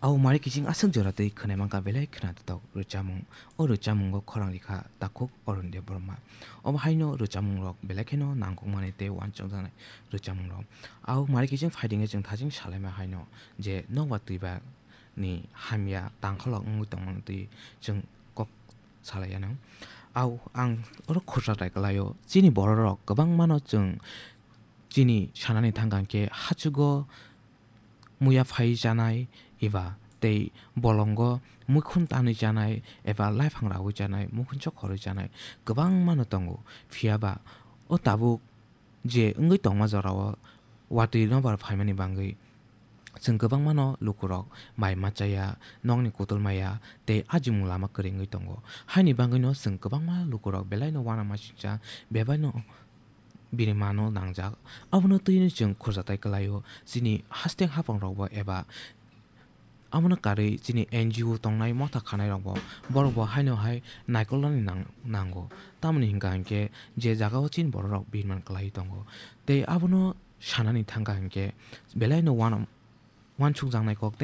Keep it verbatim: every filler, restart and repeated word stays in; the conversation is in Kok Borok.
Au mari kiching aswk jora twi khwnai mankha belai khwnatok rwchapmung. O rwchapmungo khorang rikha takhuk Arun Debbarma. Obo haino rwchapmungrok belai kheno nangkukmani tei uansukjaknai rwchapmungrok. Au mari kiching phaidingwi chwng thaching salaima haino je nokbar twiba ni hamya tangkholok wngwi tongmani twi chwng kok salaiyano. Au ang oro khursa tai kwlaio. Chini bororok kwbangmano chwng chini sanani thangkha hwnkhe hachugo muya phai chanai eba tei bolongo muikhun tanwi chanai eba laiphang raui chanai, muikhun chok khorwi chanai kwbangmano tongo. Phiyaba o tabuk je wngwi tongma jorao watwi nobar phaimani bangwi chwng kwbangmano lukurok bai machaya, nokni kutul maya tei ajimung lama kwrwi wngwi tongo. Haini bangwino chwng kwbangma lukurok belaino uanamasingcha, bebaino bini mano nangjak. Abono twino chwng khurjatai kwlaio. Chini hasteng haphangrokbo eba abono karwi chini N G O tongnai motha khanairokbo borokbo haino hai naikolnani nang-, nango. Tamoni hwnkha hinkhe je jagao chini bororok birman kwlaiwi tongo. Tei abono sanani thangkha hinkhe belaino uana-, uansukjaknai kok tei